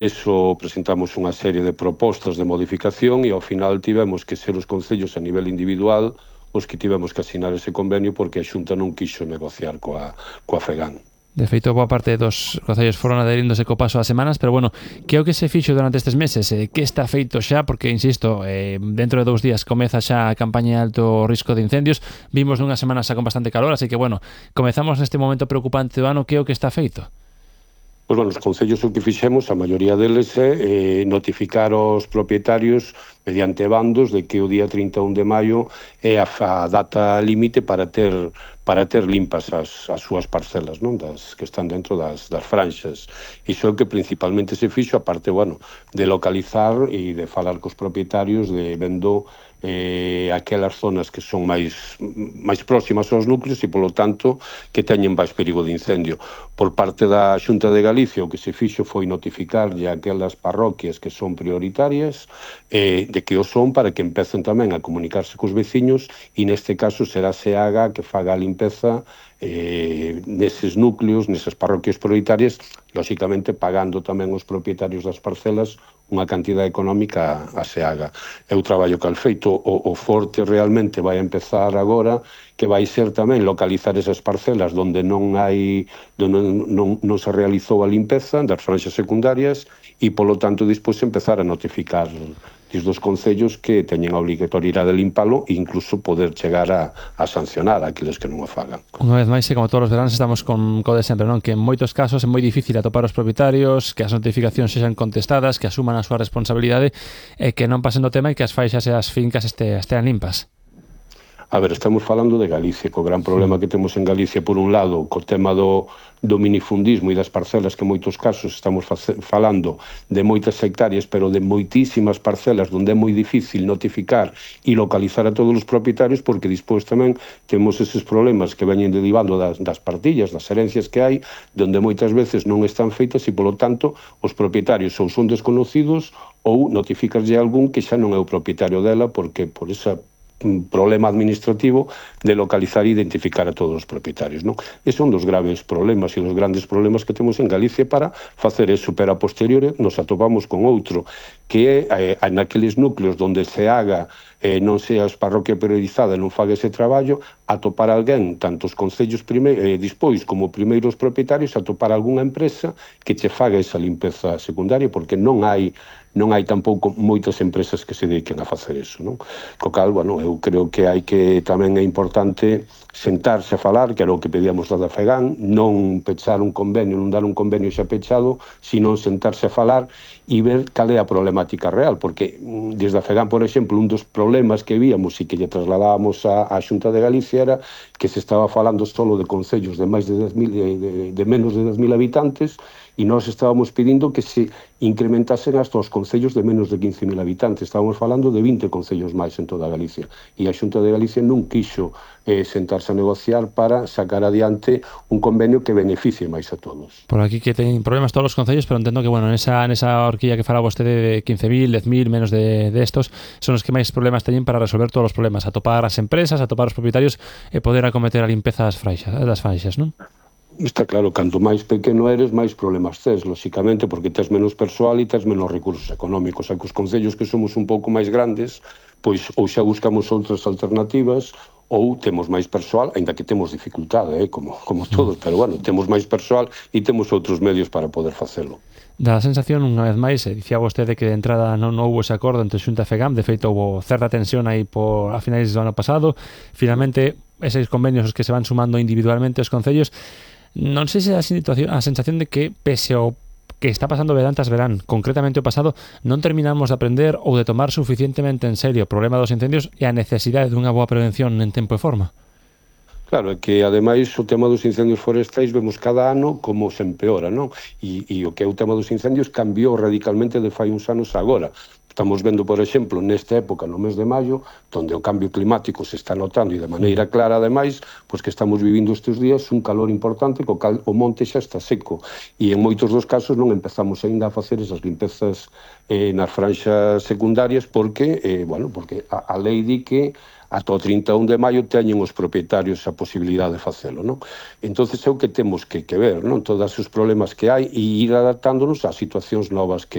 Eso presentamos unha serie de propostas de modificación e ao final tivemos que ser os concellos a nivel individual os que tivemos que asinar ese convenio porque a Xunta non quixo negociar coa FEGAN. De feito, boa parte dos concellos foron adheríndose co paso das semanas, pero bueno, que é o que se fixo durante estes meses? Que está feito xa? Porque, insisto, dentro de 2 días comeza xa a campaña de alto risco de incendios. Vimos nunha semana xa con bastante calor, así que, bueno, comezamos neste momento preocupante do ano. Que é o que está feito? Pois, bueno, os concellos o que fixemos, a maioría deles, é notificar aos propietarios mediante bandos de que o día 31 de maio é a data límite para ter limpas as súas parcelas, non? Das que están dentro das franxas. Iso é o que principalmente se fixo, a parte, bueno, de localizar e de falar cos propietarios de vendo aquelas zonas que son máis próximas aos núcleos e, polo tanto, que teñen máis perigo de incendio. Por parte da Xunta de Galicia, o que se fixo foi notificarlle a aquelas parroquias que son prioritarias de que o son para que empecen tamén a comunicarse cos veciños e, neste caso, será SEAGA que faga a limpeza neses núcleos, nesas parroquias prioritarias, lóxicamente pagando tamén os propietarios das parcelas unha cantidad económica a SEAGA. É o traballo que al feito. O forte realmente vai empezar agora, que vai ser tamén localizar esas parcelas onde non se realizou a limpeza das franxas secundarias e, polo tanto, despois empezar a notificar dos concellos que teñen a obrigatoriedade de limpalo e incluso poder chegar a sancionar aqueles que non o fagan. Unha vez máis, como todos os veranos, estamos con de sempre, non? Que en moitos casos é moi difícil atopar os propietarios, que as notificacións sexan contestadas, que asuman a súa responsabilidade e que non pasen do tema e que as faixas e as fincas estean limpas. A ver, estamos falando de Galicia, co gran problema que temos en Galicia, por un lado, co tema do minifundismo e das parcelas, que en moitos casos estamos falando de moitas hectáreas, pero de moitísimas parcelas onde é moi difícil notificar e localizar a todos os propietarios, porque despois tamén temos eses problemas que veñen derivando das partillas, das herencias que hai, onde moitas veces non están feitas e, polo tanto, os propietarios ou son desconocidos ou notificaslle a algún que xa non é o propietario dela porque por esa problema administrativo de localizar e identificar a todos os propietarios, non? Esos son dos graves problemas e os grandes problemas que temos en Galicia para facer eso, pero a posteriori nos atopamos con outro, que é naqueles núcleos onde se haga non seas parroquia priorizada e non faga ese traballo, atopar alguén, tanto os concellos dispois como primeiros propietarios, atopar algunha empresa que che faga esa limpeza secundaria, porque non hai tampouco moitas empresas que se dediquen a facer eso, non? Co cal, bueno, eu creo que tamén é importante sentarse a falar, que era o que pedíamos da FEGAN, non pechar un convenio, non dar un convenio xa pechado, sino sentarse a falar e ver cal é a problemática real, porque desde a FEGAN, por exemplo, un dos problemas que víamos e que lle trasladábamos á Xunta de Galicia era que se estaba falando solo de concellos de máis de 10.000, de menos de 10.000 habitantes, e nós estábamos pedindo que se incrementasen hasta os concellos de menos de 15.000 habitantes. Estábamos falando de 20 concellos máis en toda Galicia. E a Xunta de Galicia non quixo sentarse a negociar para sacar adiante un convenio que beneficie máis a todos. Por aquí que teñen problemas todos os concellos, pero entendo que, bueno, nesa horquilla que fala vostede de 15.000, 10.000, menos de estos, son os que máis problemas teñen para resolver todos os problemas, atopar as empresas, atopar os propietarios e poder acometer a limpeza das faixas, non? Está claro, canto máis pequeno eres, máis problemas tes, lóxicamente, porque tes menos persoal e tes menos recursos económicos. A que os concellos que somos un pouco máis grandes, pois ou xa buscamos outras alternativas ou temos máis persoal, aínda que temos dificultade, como todos, pero bueno, temos máis persoal e temos outros medios para poder facelo. Dá a sensación, unha vez máis, dicía vostede que de entrada non houve ese acordo entre Xunta e FEGAM, de feito houve certa tensión aí a finais do ano pasado, finalmente eses convenios que se van sumando individualmente aos concellos. Non sei se a sensación de que, pese ao que está pasando verán tras verán, concretamente o pasado, non terminamos de aprender ou de tomar suficientemente en serio o problema dos incendios e a necesidade dunha boa prevención en tempo e forma. Claro, é que, ademais, o tema dos incendios forestais vemos cada ano como se empeora, non? E o que é o tema dos incendios cambiou radicalmente de fai uns anos agora. Estamos vendo, por exemplo, nesta época, no mes de maio, onde o cambio climático se está notando e de maneira clara, ademais, pois que estamos vivindo estes días un calor importante, co cal o monte xa está seco. E en moitos dos casos non empezamos aínda a facer esas limpezas nas franxas secundarias porque, porque a lei di que ata o 31 de maio teñen os propietarios a posibilidade de facelo, non? Entón, é o que temos que ver, non? Todos os problemas que hai e ir adaptándonos ás situacións novas